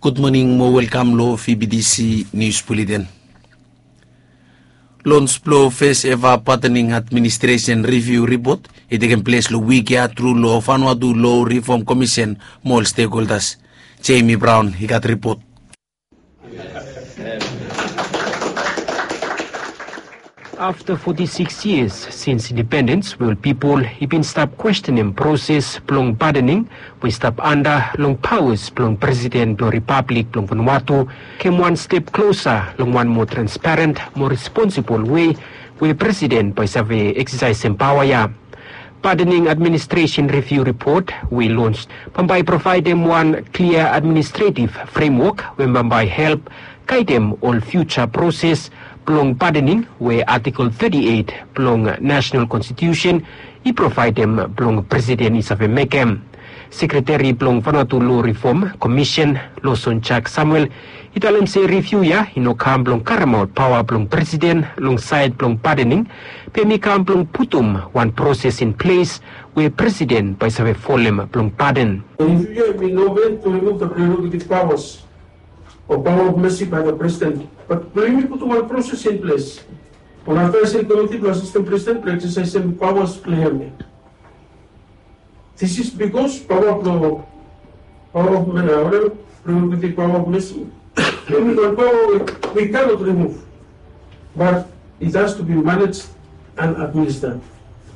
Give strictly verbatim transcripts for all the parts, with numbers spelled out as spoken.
Gud moning mo welkam long V B T C Nius Buleten. Lons blong fes eva padening administresen riviu ripot i tekem ples long wik ya tru long Vanuatu Lo Rifom Komisen mo ol stekholdas. Jamie Brown i gat ripot. Afta foti sikis yias sins indipendens, we ol pipol i bin stap kwestenem proses blong padening we i stap anda long pawas blong Presiden blong Ripablik blong Vanuatu kem wan step klosa long wan moa transparen, moa responsibol wei we Presiden bae i save eksesaesem pawa ya. Padening administresen riviu ripot we i lons bambae i provaedem wan klia administretiv fremwok we bambae i help gaedem ol fiuja proses blong padening we Artikel thirty-eight blong Nasenal Konstitiusen i provaedem blong Presiden i save mekem. Sekreteri blong Vanuatu Lo Rifom Komisen, Lawson Jack Samuel, i talem se riviu ya i no kam blong karemaot pawa blong Presiden long saed blong padening, be hem i kam blong putum wan proses in ples we Presiden bae i save folem blong paden. Riviu ya i no ben to remove the prerogative powers or power of mercy by the President, but blong yumi putum wan proses in ples. Wan advaeseri komiti blong asistan Presiden blong eksesaesem pawas blong hem ya. This is because pawa blong, pawa of, uh, whatever, prerogative power of mercy. Hem i wan pawa we we cannot remove, but it has to be managed and administered.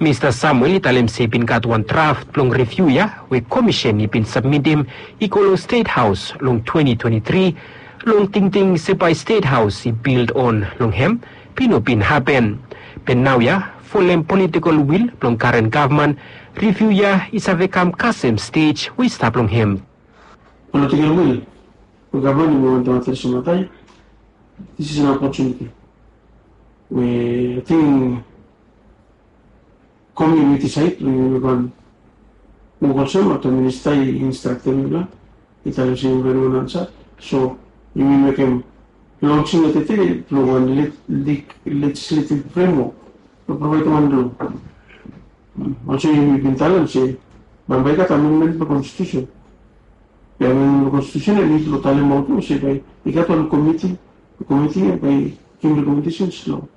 Mista Samuel i talem se i bin gat wan draft blong riviu ya we Komisen i bin sabmitem i go long Stet Haos long twenty twenty-three, long tingting se bae Stet Haos i bil on long hem, be i no bin hapen. Be naoia, folem politikol wil blong karen gavman, riviu ya i save kam kasem stej we i stap long hem. Political will blong gavman i wantem adresem mataa ya. This is an opportunity we ating komiuniti saed blong yumi wan wok olsem afta minista i instraktem yumi, i talem se yumi wan ansa. So yumi mekem lonsing ya tede blong wan legislative framework blong provaedem wan lo. Olsem yumi bin talem se bambae i gat amendment blong konstitusen. Be amendment blong konstitusen ya i nid blong talemaot olsem bae i gat wan komiti, komiti ya bae i givim rekomendesens long